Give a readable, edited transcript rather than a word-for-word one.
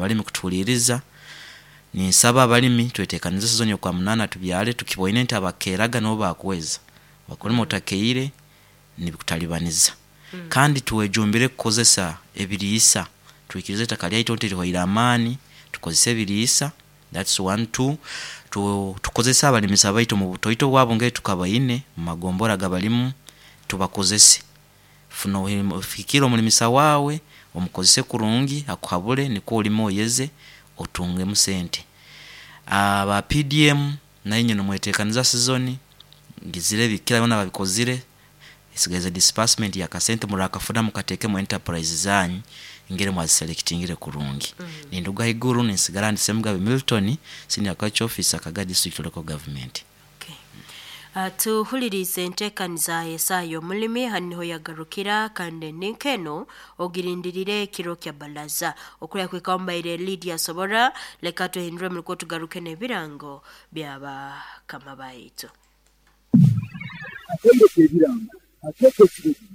Abalimi kutuhuliriza. Ninsaba abalimi twetekanize sizoni y'okwamunaana tubyare, tukiboine nti abakeeraga nibo baakweza. Wakulima otakeire nibikutalibaniza. Kandi twejumbire kukozesa ebiriisa, twikirize eitaka ryaitu nti rihwaire amaani, tukozese ebiriisa, that's one. Two, tukozese abalimisa baitu omu butoito bwabo ngeri tukabaine omu magombora agabarimu, tubakozese. Funa ohikiire omulimisa waawe, omukozese kurungi akuhabure nikwo orime oyeze otungemu sente. Aba PDM nainywe nimwetekaniza sizoni, ngizire ebikira boona babikozire, esigaize disbursement y'akasente murakafuna mukateeke omu enterprise zanyu engeri mwaziselectingire kurungi. Ninduga ahaiguru ninsigara ndi Ssemugabe Milton, Senior Culture Officer, Kagadi District Local Government. Okay. Tuhuliriize enteekaniza y'esaaha y'omulimi hanu niho yagarukira kandi ninka enu ogirindirire ekiro kya balaza okuya kwika mbaire Lydia Sobora leka tuhindure nukwo tugaruke n'ebirango by'abakama baitu. Akaire k'ebirango akeekekire bwino.